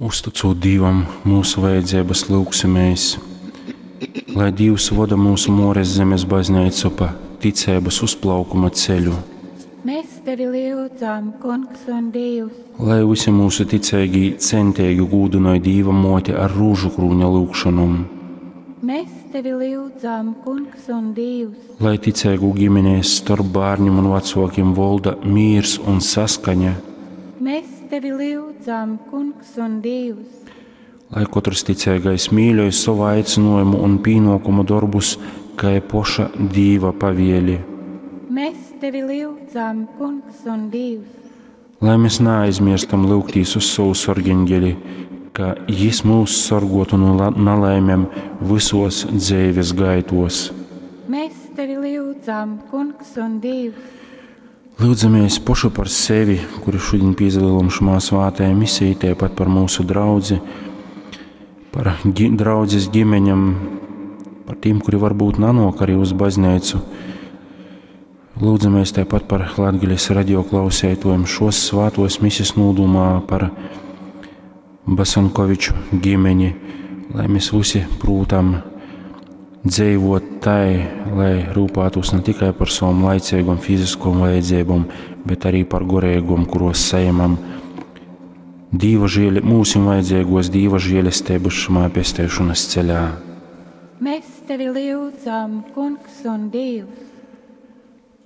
Uztycūt Dīvam mūsu vajadzības, lyugsimēs, lai Dīvs voda mūsu Mores zemes bazneicu pa ticeibas uzplaukuma ceļu. Mēs tevi lyudzam, Kungs un Dievs. Lai visi mūsu ticeigī centīgi gūdynoj Dīva moti ar rūžu krūņa lyugšonom. Mēs tevi lyudzam, Kungs un Dievs. Lai ticeigu ģimenēs starp bērniem un vecokiem volda mīrs un saskaņa. Mēs tevi lyudzam, Kungs un Dievs. Lai katrs ticīgais mīļoj savu aicinājumu un pienākumu darbus, kā poša Dīva pavēli. Mēs tevi lyudzam, Kungs un Dievs. Lai mēs neaizmirstam lūgtīs uz savu sorgeņģeli, ka jis mūs sorgotu no nelaimēm visos dzīves gaitos. Mēs tevi lyudzam, Kungs un Dievs. Lūdzamies pošu par sevi, kuri šodien piedalām šumā svātajā misijā, tāpat par mūsu draudzi, par gi draudzes ģimeņam, par tiem, kuri varbūt nanok arī uz baznīcu. Lūdzamies tāpat par Latgales radio klausētojiem šos svātos misijas nūdumā par Basankoviču ģimeni, lai mēs visi prūtam dzīvot tai, lai rūpētos ne tikai par savam laicīgam fiziskom vajadzībām, bet arī par gorīgom, kuros saņemam Dīva žēli, mūsim vajadzīgos Dīva žēlestības šamā pestēšanas ceļā. Mēs tevi lyudzam, Kungs un Dievs.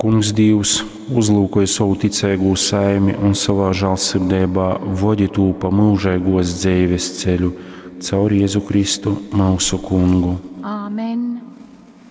Kungs Dievs, uzlūkoja savu ticīgo saimi un savā žēlsirdībā vodi tū pa mūžīgos dzīves ceļu caur Jēzu Kristu, mūsu kungu. Āmen.